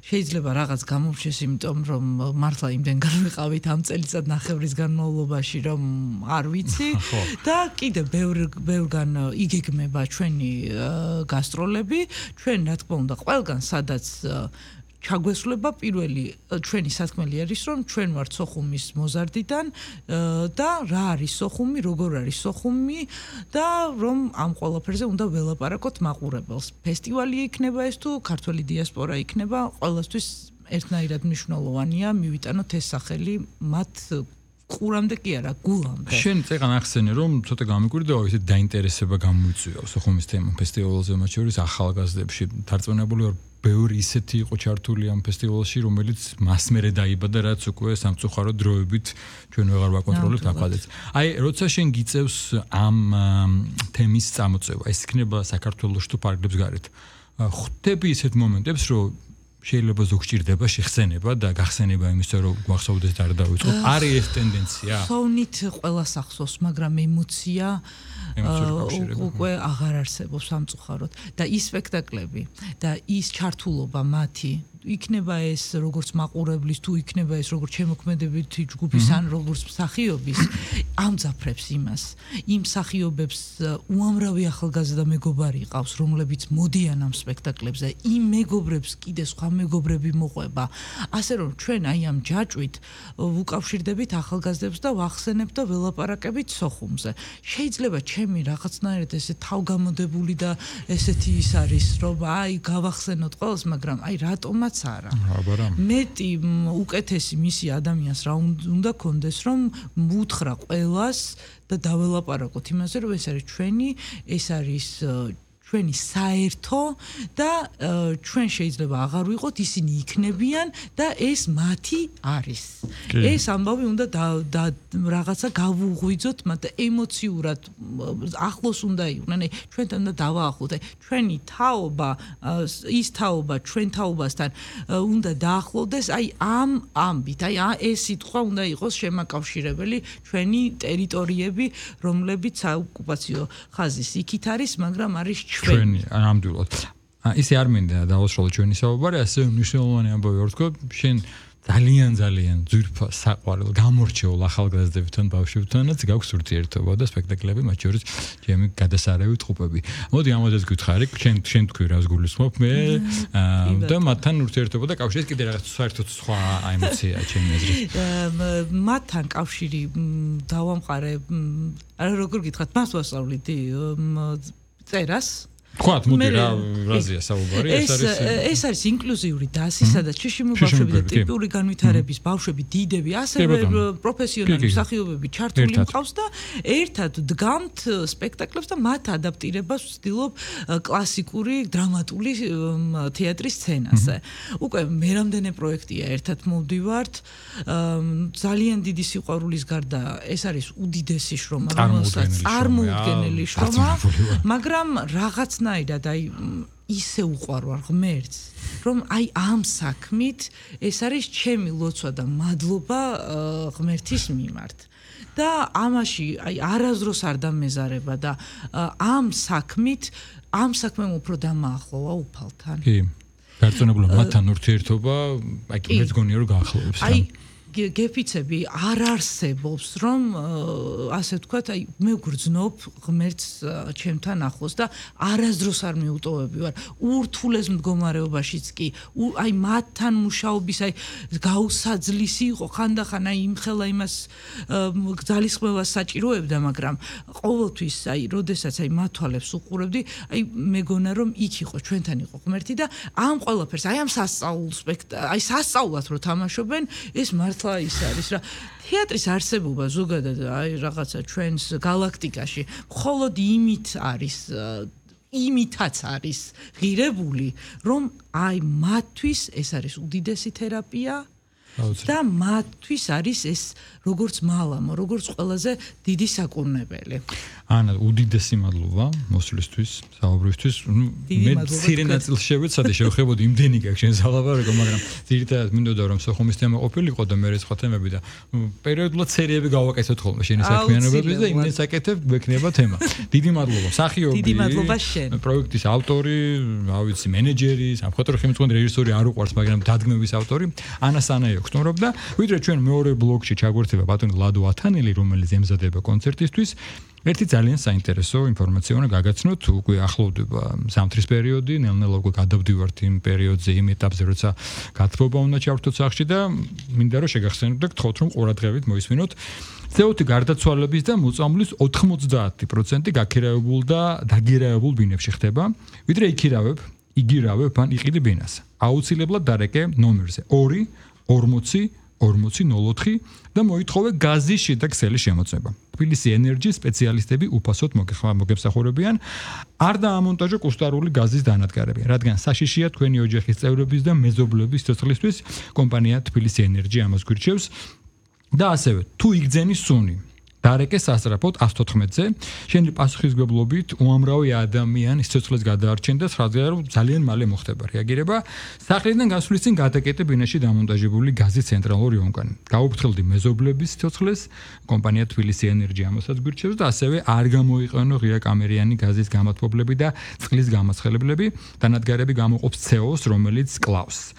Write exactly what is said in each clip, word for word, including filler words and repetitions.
შეიძლება რაღაც გამომჩეს, იმიტომ რომ მართლა იმდენ განვიყავით ამ წელიწად ნახევრის განმავლობაში, რომ არ ვიცი და კიდე ბევრ ბევრგან იგეგმება ჩვენი გასტროლები, ჩვენ რა თქმა უნდა ყველგან სადაც ჩაგვესვლება პირველი ჩვენი სათქმელი არის რომ ჩვენ ვართ სოხუმის მოზარდიდან და რა არის სოხუმი, როგორ არის სოხუმი და რომ ამ ყველაფერზე უნდა ველაპარაკოთ მაყურებელს. ფესტივალი იქნება ეს თუ ქართველი დიასპორა იქნება, ყველასთვის ერთნაირად მნიშვნელოვანია მივიტანოთ ეს სახელი მათ ყურამდე კი არა, გულამდე. შენ წეგან ახსენე რომ ცოტა გამიკვირდა ისე დაინტერესება გამოიწვია სოხუმის თემა ფესტივალზე, მათ შორის ახალგაზრდებში დარწმუნებული ვარ ბევრი ისეთი იყო ჩართული ამ ფესტივალში, რომელიც მასმერე დაიბადა, რაც უკვე სამწუხარო დროებით ჩვენ ვეღარ ვაკონტროლებთ აფხაზეთს. აი, როცა შენ გიწევს ამ თემის წამოწევა, ეს იქნება საქართველოს თუ ფარგლებს გარეთ. ხვდები ისეთ მომენტებს, რომ შეიძლება ზოგ ჭირდება შეხსენება და გახსენება იმისა, რომ გვახსოვდეს და არ დავიწყოთ. არის ეს ტენდენცია? ხოვნით ყველას ახსოვს, მაგრამ ემოცია უკვე აღარ არსებობს სამწუხაროდ და ის სპექტაკლები და ის ჩართულობა მათი იქნება ეს როგორც მაყურებლის თუ იქნება ეს როგორც შემოქმედებითი ჯგუფის ან როგორც მსახიობის ამძაფრებს იმას იმ მსახიობებს უამრავი ახალგაზრდა მეგობარი ყავს რომლებიც მოდიან ამ სპექტაკლებზე იმ მეგობრებს კიდე სხვა მეგობრები მოყვება ასე რომ ჩვენ აი ამ ჯაჭვით ვუკავშირდებით ახალგაზრდებს და ვახსენებთ და ველაპარაკებით სოხუმზე შეიძლება ჩემი რაღაცნაირად ესე თავგამოდებული და ესეთი ის არის რომ აი გავახსენოთ ყველას მაგრამ აი რატომაც არა. მეტი უკეთესი მისი ადამიანს რა უნდა კონდეს რომ მუთხრა ყველას და დაველაპარაკოთ იმაზე რომ ეს არის ჩვენი ეს არის ჩვენი საერთო და ჩვენ შეიძლება აღარ ვიყოთ ისინი იქნებიან და ეს მათი არის. ეს ამბავი უნდა და რაღაცა გავუღვიძოთ მათ და ემოციურად ახლოს უნდა იყვნენ. აი ჩვენთან და დავაახლოთ. აი ჩვენი თაობა ის თაობა ჩვენ თაობასთან უნდა დაახლოვდეს აი ამ ამბით. აი ეს სიტყვა უნდა იყოს შემაკავშირებელი ჩვენი ტერიტორიები, რომლებიც საოკუპაციო ხაზის იქით არის, მაგრამ არის ჩვენი ნამდვილად. ისე არ მინდა დავასრულო ჩვენი საუბარი, ასე მნიშვნელოვანი ამბავი ვარ თქო, შენ ძალიან ძალიან ძვირფას საყვარელ გამორჩეულ ახალგაზრდებთან, ბავშვებთანაც გაქვს ურთიერთობა და სპექტაკლები, მათ შორის ჩემი გადასარევი ტყუპები. მოდი ამოდაც გითხარი, შენ შენ თქვი რას გულისხმობ მე და მათთან ურთიერთობა და კავშირი კიდე რაღაც საერთოდ სხვა ემოციაა ჩემი აზრით. მათთან კავშირი დავამყარე, არა როგორ გითხრათ, მას ვასწავლით წერას ხوات მოდი რა რაზეა საუბარი ეს არის ეს არის ინკლუზიური დასი სადაც შიშიმო ბავშვები და ტიპური განვითარების ბავშვები დიდები ასევე პროფესიონალი მსახიობები ჩართული მყავს და ერთად დგამთ სპექტაკლებს და მათ ადაპტირებას ვცდილობ კლასიკური დრამატული თეატრის სცენაზე უკვე მე რამდენი პროექტია ერთად მოვდივართ ძალიან დიდი სიყვარულის გარდა ეს არის უდიდესი შრომა რომელსაც წარმოუდგენელი შრომა მაგრამ რაღაც ნაირად აი ისე უყვარვარ ღმერთს რომ აი ამ საქმით ეს არის ჩემი ლოცვა და მადლობა ღმერთის მიმართ და ამაში აი არაზროს არ დამეზარება და ამ საქმით ამ საქმემ უფრო დამაახლოვა უფალთან კი გარწმუნებული მათთან ურთიერთობა აი მეც გონია რომ გაახლოვებს აი გეფიცები არ არსებობს რომ ასე ვთქვათ აი მე ვგრძნობ ღმერთს ჩემთან ახლოს და არასდროს არ მეუტოვები ვარ ურთულეს მდგომარეობაშიც კი აი მათთან მუშაობის აი გაუსაძლისი იყო ხანდახან აი იმხელა იმას ძალისხმევას საჭიროებდა მაგრამ ყოველთვის აი როდესაც აი მათვალებს უყურებდი აი მეგონა რომ იქ იყო ჩვენთან იყო ღმერთი და ამ ყველაფერს აი ამ სასწაულ სპექტაკლს აი სასწაულად რო თამაშობენ ეს მართლა ის არის რა თეატრის არსებობა ზოგადად აი რაღაცა ჩვენს galaktikაში მხოლოდ იმით არის იმითაც არის ღირებული რომ აი მათთვის ეს არის უდიდესი თერაპია და მათთვის არის ეს როგორც მალამო, როგორც ყველაზე დიდი საკურნებელი. ანა, უდიდესი მადლობა მოსვლისთვის, საუბრისთვის. მე ცირე ნაწილში შევეცადე შევხებოდი იმდენი გაქვს შენ სალაპარაკო, მაგრამ ძირითადად მინდოდა რომ სოხუმის თემა ყოფილიყო და მე სხვა თემები და პერიოდულად სერიები გავაკეთოთ ხოლმე შენი საქმიანობების და იმდენ საკეთებ გვექნება თემა. დიდი მადლობა. მსახიობი. დიდი მადლობა შენ. პროექტის ავტორი, რა ვიცი, მენეჯერი, სამხატვრო ხელმძღვანელი, რეჟისორი არ უყვარს, მაგრამ დადგმების ავტორი ანა სანაიო გწნობ და ვიდრე ჩვენ მეორე ბლოკში ჩაგვერთება ბატონი ლადო ათანელი, რომელიც ემზადება კონცერტისთვის. ერთი ძალიან საინტერესო ინფორმაცია უნდა გაგაცნოთ, უკვე ახლოვდება ზამთრის პერიოდი, ნელ-ნელა უკვე გადავდივართ იმ პერიოდზე, იმ ეტაპზე, როცა გათბობა უნდა ჩავთოთ სახლში და მინდა რომ შეგახსენოთ და გთხოვთ რომ ყურადღებით მოისმინოთ. ცე ათი გარდაცვალების და მოწამვლის ოცდაათი პროცენტი გაქირავებულ და დაგირავებულ ბინებში ხდება, ვიდრე იქირავებ, იგირავებ ან იყიდი ბინას. აუცილებლად დარეკე ნომერზე ორი ორმოცი ორმოცი ნულ ოთხი და მოითხოვე გაზის შიდა ქსელის შემოწმება. თბილისი ენერჯის სპეციალისტები უფასოდ მოგემსახურებიან, არ დაამონტაჟო კუსტარული გაზის დანადგარები, რადგან საშიშია თქვენი ოჯახის წევრების და მეზობლების სიცოცხლისთვის, კომპანია თბილისი ენერჯი ამას გვირჩევს და ასევე თუ იგძენი სუნი დარეკე სასწრაფოდ ათს თოთხმეტზე, შენი პასუხისმგებლობით უამრავი ადამიანი სიცოცხლეს გადაარჩენდა, სხალხი ძალიან მალე მოხდება რეაგირება. სახლიდან გასვლის წინ გადაკეტე ბინაში დამონტაჟებული გაზის ცენტრალური ონკანი. გაუფრთხილდი მეზობლების სიცოცხლეს, კომპანია თბილისი ენერჯი ამასაც გვირჩევს და ასევე არ გამოიყენო ღია კამერიანი გაზის გამათბობლები და წყლის გამაცხელებლები, დანადგარები გამოყოფს ცე ოს, რომელიც კლავს.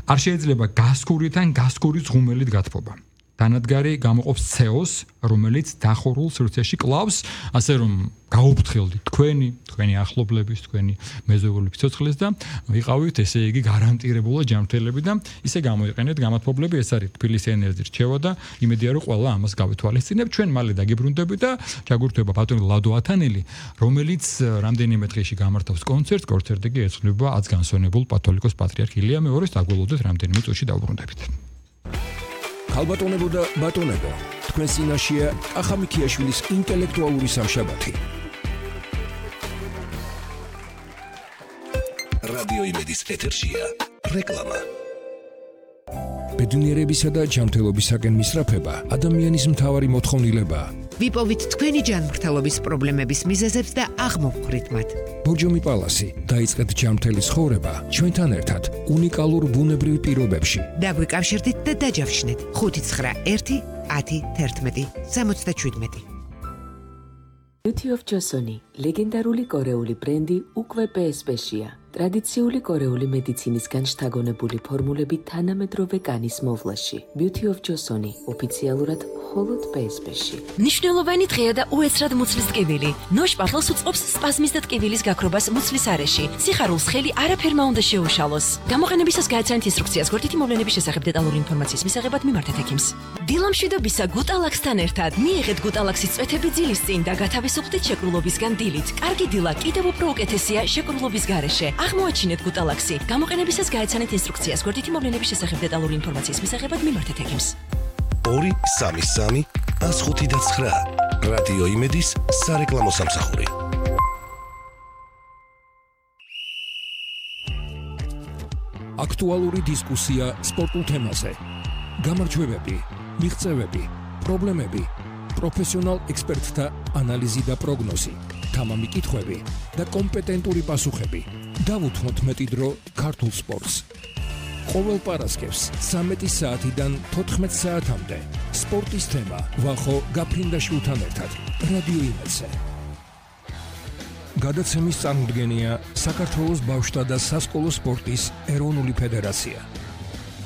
არ შეიძლება გასქურით ან გასქურის ღუმელით გათბობა. დანადგარი გამოყოფს ცე ოს, რომელიც დახურულ სივრცეში კლავს, ასე რომ გაუფრთხილდით თქვენი, თქვენი ახლობლების, თქვენი მეზობლების სიცოცხლეს და ვიყავით ესე იგი გარანტირებულად ჯანმრთელები და ისე გამოიყენეთ გამათბობლები, ეს არის თბილისი ენერჯის რჩევა და იმედია რომ ყველა ამას გავითვალისწინებ. ჩვენ მალე დაგიბრუნდებით და ჩაგურთვება ბატონი ლადო ათანელი, რომელიც რამდენიმე დღეში გამართავს კონცერტს, კონცერტი კი ეძღვნება ათს განსვენებულ პათოლიკოს პატრიარქ ილია მეორის, დაგველოდეთ რამდენიმე წუთში დავბრუნდებით. ხალბატონებო და ბატონებო, თქვენ წინაშეა კახა მიქიაშვილის ინტელექტუალური სამშაბათი. რადიო იმედის ეთერშია რეკლამა. ბედნიერებისა და ჯანმრთელობისაკენ მისწრაფება ადამიანის მთავარი მოთხოვნილებაა. ვიპოვით თქვენი ჯანმრთელობის პრობლემების მიზეზებს და აღმოვხვრით მათ. ბორჯომი პალასი, დაიწყეთ ჯანმრთელი ცხოვრება ჩვენთან ერთად უნიკალურ ბუნებრივ პირობებში. დაგვიკავშირდით და დაჯავშნეთ ხუთი ცხრა ერთი ათი თერთმეტი სამოცდაშვიდმეტი. Beauty of Joseon, ლეგენდარული კორეული ბრენდი უკვე პე ეს პე-შია. ტრადიციული კორეული მედიცინისგან შთაგონებული ფორმულები თანამედროვე კანის მოვლაში. Beauty of Joseon, ოფიციალურად მხოლოდ პე ეს პე-ში. ნიშნულოვანი დღეა და უეცრად მუცლის ტკივილი. ნოშპატლს უწყობს სპაზმის და ტკივილის გაქრობას მუცლის არეში. სიხარულს ხელი არაფერმა უნდა შეუშალოს. გამოყენებისას გააცანეთ ინსტრუქციას გვერდითი მოვლენების შესახებ დეტალური ინფორმაციის მისაღებად მიმართეთ ექიმს. დილამშვიდობისა გუტალაქსთან ერთად მიიღეთ გუტალაქსის წვეთები ძილის წინ და გათავისუფლდით შეკრულობისგან დილით. კარგი დილა კიდევ უფრო უკეთესია შეკრულობის გარეშე. აღმოაჩინეთ გუტალაქსი. გამოყენებისას გააცანეთ ინსტრუქციას გვერდითი მოვლენების შესახებ დეტალური ინფორმაციის მისაღებად მიმართეთ ექიმს. ორი სამი სამი ათს ხუთი და ცხრა. რადიო იმედის სარეკლამო სამსახური. აქტუალური დისკუსია სპორტულ თემაზე. გამარჯვებები, მიღწევები, პრობლემები, პროფესიონალ ექსპერტთა ანალიზი და პროგნოზი, თამამი კითხვები და კომპეტენტური პასუხები. დავუთმოთ მეტი დრო ქართულ სპორტს. ყოველ პარასკევს ცამეტი საათიდან თოთხმეტ საათამდე სპორტის თემა ვახო გაფრინდაშვილთან ერთად რადიო იმედზე. გადაცემის წარმოდგენია საქართველოს ბავშვთა და სასკოლო სპორტის ეროვნული ფედერაცია.